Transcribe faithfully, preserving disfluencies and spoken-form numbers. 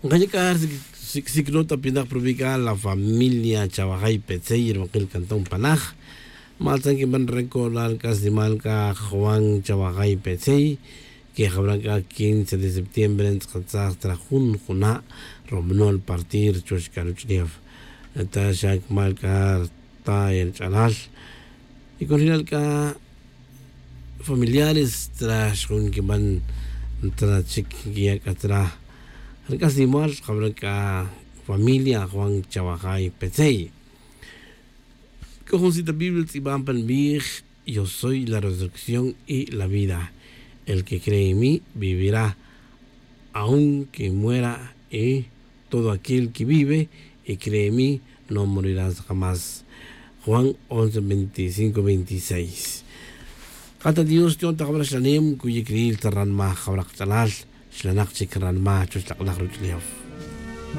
Nkaya' c'a sic'sic nota pinak provical la familia chawajay petzey rumakil cantón panaj. Matzan quinban recordar c'a snimal c'a juan chawajay petzey, que jabra c'a quince de septiembre ntz'akatzaj tra jun juna' romonol partir chuwech c'a ruch'ulef. Ta xa cumal c'a rta e rch'alal y con rinal c'a familiares tra xjun quinban tra chic quiyac'a tra rc'aslimal jabra c'a familia juan chawajay petzey. C'o jun cita biblia tz'iban pan bix: yo soy la resurrección y la vida. El que cree en mí vivirá aunque muera, y todo aquel que vive y cree en mí no morirá jamás. Juan once veinticinco veintiséis. Kata dios ti'on ta jawra xlanem kuyikril ta ranma jawra qach'alal. Xlanak chik ranma chuch lak'laj ruch'ulef.